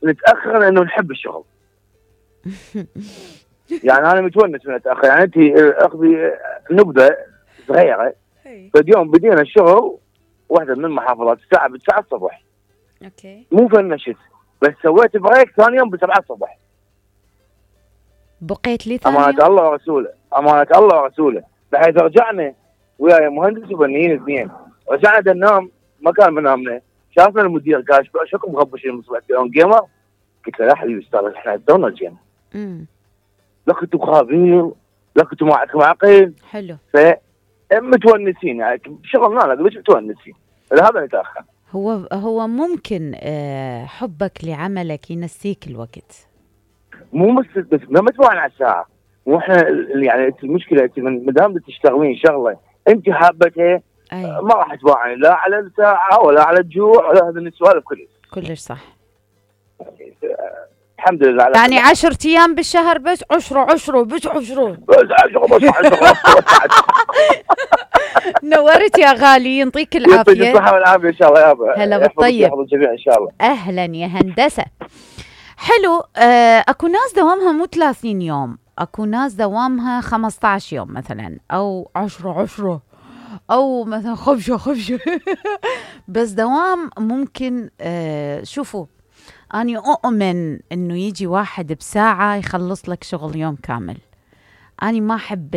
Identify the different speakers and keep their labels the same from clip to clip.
Speaker 1: نتاخر لانه نحب الشغل. يعني انا متونس من اتاخر. يعني انت اخذي نبذه صغيره. فاليوم بدينا الشغل واحده من المحافظات الساعه 9 الصبح.
Speaker 2: اوكي.
Speaker 1: مو فنشت بس سويت بريك ثاني يوم ب7 الصبح.
Speaker 2: بقيت لي ثاني
Speaker 1: امانه الله ورسوله، امانه الله ورسوله، بحيث رجعنا وياي مهندس وفنيين اثنين، رجعنا ننام مكان منامنا. شافنا المدير قال شكو مغبشين من صبح يوم جيمر؟ قلت له لا حبيبي استاذ احنا دونا جينا. لك انتم خابين، لك انتم ما عندكم عقل.
Speaker 2: حلو.
Speaker 1: متونسين يعني شغلنا لا بس متونسين. هذا نتاخر.
Speaker 2: هو ممكن حبك لعملك ينسيك الوقت.
Speaker 1: مو بس ما متوقع على الساعه. مو احنا يعني المشكله انت ما دام تشتغلين شغله انت حابتها ما راح تباعني لا على الساعه ولا على الجوع ولا هذه السوالف
Speaker 2: كلش صح.
Speaker 1: الحمد لله على
Speaker 2: يعني 10 ايام بالشهر بس 10 بس 10 نورت يا غالي، يعطيك العافيه.
Speaker 1: يعطيك الصحه والعافيه ان شاء الله يابا.
Speaker 2: هلا بالطيب.
Speaker 1: يحفظ الجميع ان شاء الله.
Speaker 2: اهلا يا هندسه. حلو. اكو ناس دوامها مو 30 يوم، اكو ناس دوامها 15 يوم مثلا، او 10 او مثلا خفشه بس دوام ممكن. شوفوا أنا أؤمن إنه يجي واحد بساعة يخلص لك شغل يوم كامل. أنا ما أحب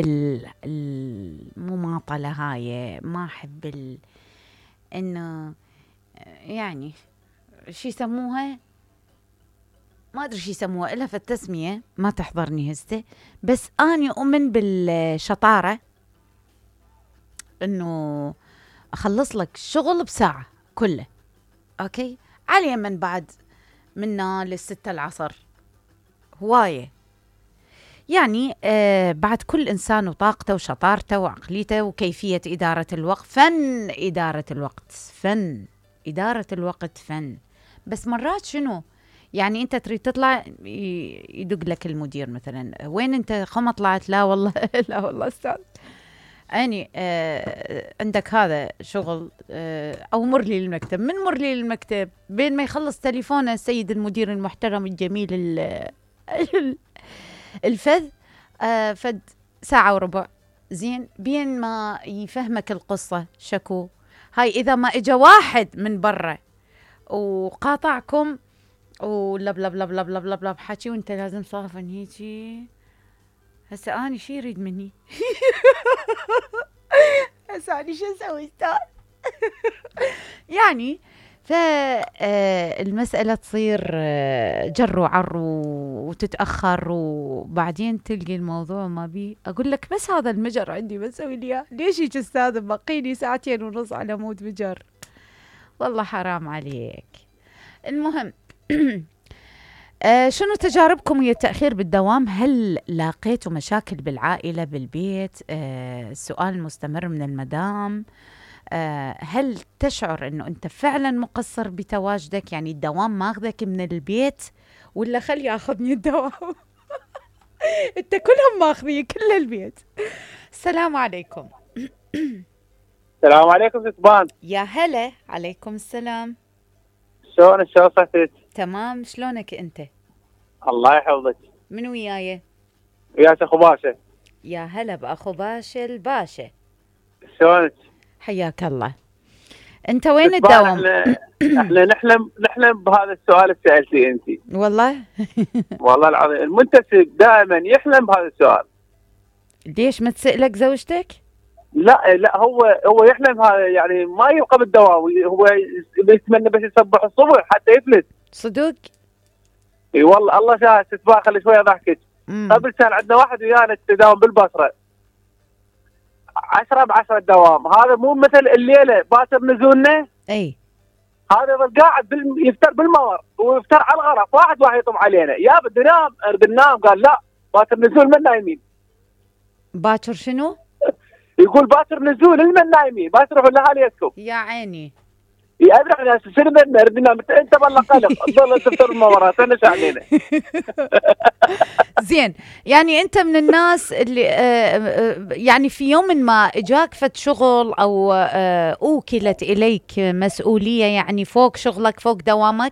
Speaker 2: المماطلة هاي، ما أحب إنه يعني شي يسموها، ما أدري شي يسموها إلا في التسمية، ما تحضرني هسه. بس أنا أؤمن بالشطارة، إنه أخلص لك الشغل بساعة كله. أوكي. على اليمن بعد منا للستة العصر هواية. يعني بعد كل إنسان وطاقته وشطارته وعقليته وكيفية إدارة الوقت. فن إدارة الوقت، فن إدارة الوقت، فن. بس مرات شنو يعني أنت تريد تطلع يدق لك المدير مثلا، وين أنت خم طلعت؟ لا والله لا والله أستاذ يعني عندك هذا شغل، أو مر لي المكتب. من مر لي المكتب بين ما يخلص تليفونه السيد المدير المحترم الجميل الفذ، فد ساعة وربع. زين بين ما يفهمك القصة شكو هاي. إذا ما إجا واحد من برا وقاطعكم ولب لب لب لب لب لب لب حكي وانت لازم صافن هيجي، هسه أنا شي يريد مني؟ هسه أنا شو أسوي استاذ؟ يعني فالمسألة تصير جر وعر وتتأخر، وبعدين تلقي الموضوع ما بي. أقول لك بس هذا المجر عندي بسوي لي إياه، ليش هيك أستاذ بقيني 2.5 ساعة على مود مجر؟ والله حرام عليك. المهم شنو تجاربكم ويا التأخير بالدوام؟ هل لاقيتوا مشاكل بالعائلة بالبيت؟ السؤال المستمر من المدام. هل تشعر انه انت فعلا مقصر بتواجدك؟ يعني الدوام ماخذك من البيت ولا خلي ياخذني الدوام؟ انت كلهم ماخذي كل البيت. السلام عليكم.
Speaker 1: السلام عليكم ستبان.
Speaker 2: يا هلا. عليكم السلام.
Speaker 1: شلون صحتك؟
Speaker 2: تمام. شلونك انت؟
Speaker 1: الله يحفظك.
Speaker 2: من وياي؟
Speaker 1: وياك اخو باشا.
Speaker 2: يا هلا باخو باشا الباشا.
Speaker 1: شلونك؟
Speaker 2: حياك الله. انت وين الدوام؟
Speaker 1: احنا نحلم بهذا السؤال اللي سالتيه انت.
Speaker 2: والله
Speaker 1: والله العظيم المنتسب دائما يحلم بهذا السؤال.
Speaker 2: ليش ما تسألك زوجتك؟
Speaker 1: لا هو يحلم هذا، يعني ما يبقى بالدوام، هو يتمنى بس يصبح الصبح حتى يفلت.
Speaker 2: صدق؟
Speaker 1: اي والله الله شاهد. تتباع خلي شويه ضحكت. قبل كان عندنا واحد ويانا تداوم بالبصره 10 الدوام. هذا مو مثل الليله باكر نزولنا.
Speaker 2: اي
Speaker 1: هذا يظل قاعد يفتر بالمور ويفتر على الغرف. واحد يطم علينا يا بدي نام ننام. قال لا باكر نزول من نايمين.
Speaker 2: باكر شنو؟
Speaker 1: يقول باكر نزول من نايمين، باكر روحوا لاهاليكم.
Speaker 2: يا عيني.
Speaker 1: ادري انا سينما نرد نام انت والله قلق تظل تفطر المورات انا شعنينه.
Speaker 2: زين، يعني انت من الناس اللي يعني في يوم ما اجاك فد شغل او اوكلت اليك مسؤوليه يعني فوق شغلك فوق دوامك،